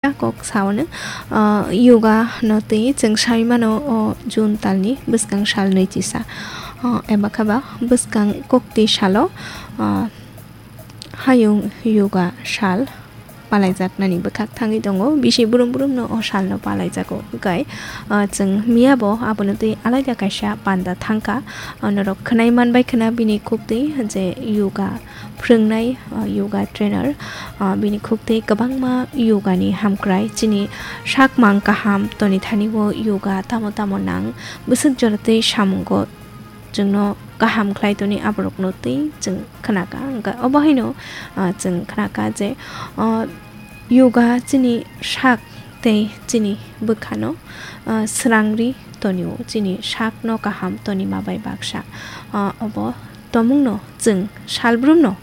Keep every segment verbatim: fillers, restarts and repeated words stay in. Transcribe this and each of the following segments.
kok sao no, ah, yoga no twi chwng sai mano o June talni bwskang sal nwi chisa, ah, eba khe ba bwskang kokti salo, ah, hayung yoga sal palaijaknani bwkhak thangwi tongo. Bisi brum brum no o sal no palaijago. Hwnkhe, ah, chwng miya bo abono twi alaida kaisa panda thangkha. Ah, norok khwnai manbai khwna bini khuktwi je yoga phwrwngnai, ah, yoga trainer, ah, bini khuktwi kwbangma yoga ni hamkrai, chini sakmang kaham toni thani o yoga tamo tamo nang, bwswk jora twi samungo chwngno kaham khlai toni aborokno twi chwng khnakha. Hwnkhe obo haino, ah, chwng khnakha je, ah, yoga chini sak tei chini bwkhano, ah, srangri tonio, chini sakno kaham tonima bai baksa. Ah, obo tomungno chwng salbrumno,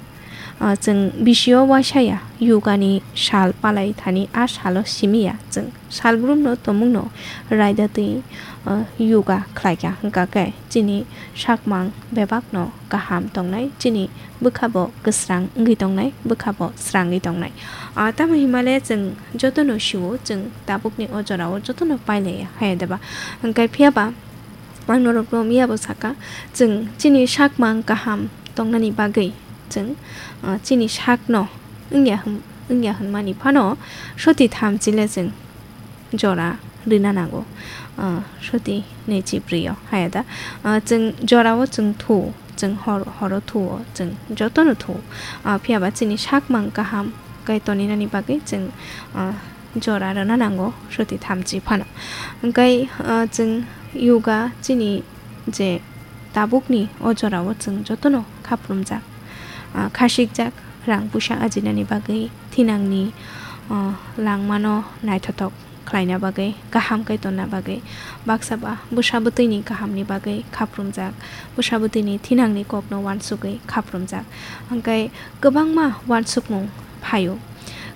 ah, chwng bisio waisa ya, yoga ni sal palai thani a salo simi ya, chwng salbrumno tomungno raida twi, ah, yoga khlaikha, hwnkha khe chini sakmang bebakno kaham tongnai, chini bwkha bo kwsrang wngwi tongnai, bwkha bo srangwi tongnai. Ah, tamo himale chwng jotono sio, chwng tabukni o jorao jotono pailaiya, haya deba? Hwnkhe phiya ba ang norokno miya bo sakha, chwng chini sakmang kaham tongnani bagwi chwng, ah, chini sakno wngya hwn-, wngya hwnmani phano soti thamchi le chwng jora rwna nango. Ah, soti nechibrio haya da. Ah, chwng jorao chwng thu, chwng hor, horo thuo, chwng jotono thu. Ah, phiya ba chini sakmang kaham kai toninani bagwi chwng, ah, jora rwna nango soti thamchi phano. Hwnkhe, ah, chwng yoga chini je tabukni o jorao chwng jotono khaprumjak, ah, khasikjak, rang puisa ajinani bagwi, thinangni, ah, langmano naithothok khlaina bagwi, kaham khe tonna bagwi, baksa ba bwsa bwtwini kahamni bagwi khaprumjak, bwsa bwtwini thinangni kokno uansugwi khaprumjak. Hwnkhe kwbangma uansukmung phaio,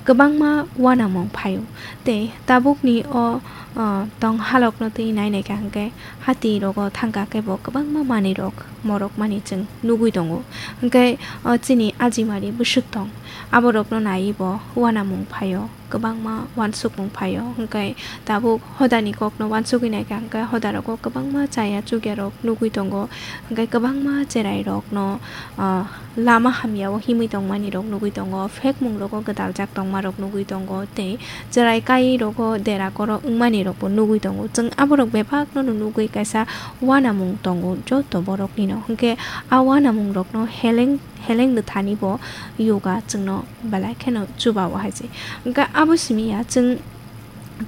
kwbangma uanamung phaio, tei tabukni o, ah, tong halokno twi nai naikha hwnkhe hati rogo thangkha khe bo kwbangma manwi rok morok mani chwng nugwi tongo. Hwnkhe, ah, chini ajimari bwswk tong, aborokno naiwi bo uanamung phaio. Kwbangma uansukmung phaio, hwnkhe tabuk hodani kokno uansugwi naikha, hwnkhe hodarogo kwbangma chaya chukyarok nugwi tongo, hwnkhe kwbangma cherairokno, ah, lama hamyao himwi tongmanirok nugwi tongo, phekmungrogo gwdaljak tongmarok nugwi tongo, tei cherai kairogo dera koro wngmanirokbo nugwi tongo. Chwng aborok bebakno nugwi kaisa uanamung tongo joto boroknino, hwnkhe a uanamungrokno heleng heleng nwthani bo yoga chwngno belai kheno chuba o hai se. Hwnkhe abo simi ya chwng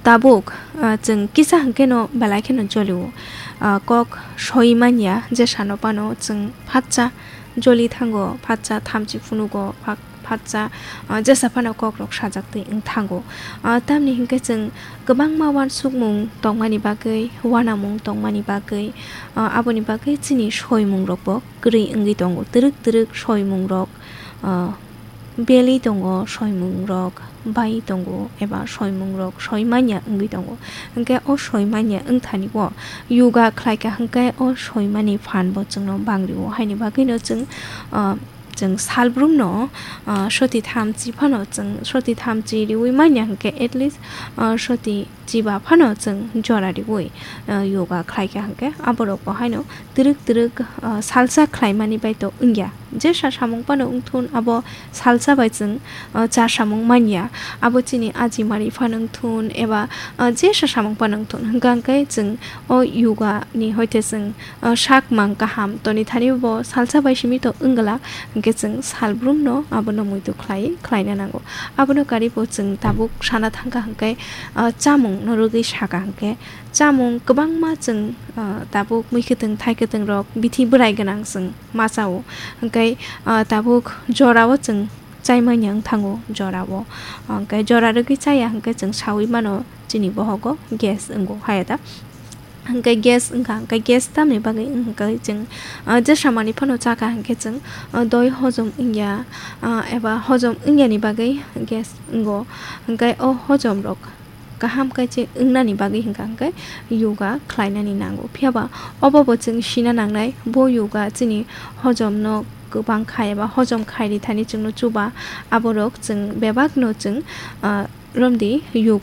tabuk, ah, chwng kisa hwnkhe no belai kheno joli o. Ah, kok soi man ya je sano phano chwng phatsa joli thango, phatsa thamchi phunugo, pha-, phatsa, ah, jesa phano kok rok sajak twi wng thango. Ah, tamni hwnkhe chwng kwbangma uansukmung tongmani bagwi, uanamung tongmani bagwi, ah, aboni bagwi chini soimung rok bo kwrwi wngwi tongo. Twrwk twrwk soimung rok, ah, belwi tongo, soimung rok bai tongo, eba soimung rok soi manya wngwi tongo. Hwnkhe o soi manya wngthani o yoga khlaikha, hwnkhe o soi mani phan bo chwngno bangri o, haini bagwi no chwng, ah, chwng salbrum no, ah, soti thamchi phano chwng soti thamchi riwi manya, hwnkhe at least, ah, soti chiba phano chwng jora riwi, ah, yoga khlaikha, hwnkhe aborok bo haino twrwk twrwk, ah, salsa khlaimani bai to wngya. Jesa samung phano wngthun, abo salsa bai chwng, ah, cha samung manya. Abo chini ajimari phano wngthun eba, ah, jesa samung phano wngthun, hwnkhe chwng o yoga ni hoite chwng, ah, sak mang kaham toni thani bo salsa bai simi to wngla, hwnkhe chwng salbrum no abono muitu khlai, khlaina nango. Abono karibo chwng tabuk sana thangkha hwnkhe, ah, chamung no rwgwi saka hwnkhe chamung kwbangma chwng, ah, tabuk mui kwtwng thai kwtwng rok bithi bwrai gwnang chwng ma chao. Hwnkhe, ah, tabuk jorao chwng chai manya wng thango jorao. Hwnkhe jora rwgwi chaya hwnkhe chwng sawi mano chini bohogo gas wngo haya da. Hwnkhe gas wngkha, hwnkhe gas tamni bagwi wngkha chwng, ah, jesa mani phano chakha hwnkhe chwng, ah, doi hojom wngya, ah, eba hojom wngyani bagwi gas wngo. Hwnkhe o hojom rok kaham kaichi wngnani bagwi hwnkha hwnkhe yoga khlainani nango. Phiya ba obo bo chwng sina nangnai, bo yoga chini hojomno kwbang khai eba hojom khairi thani chwngno chuba, aborok chwng bebakno chwng, ah, romdi yoga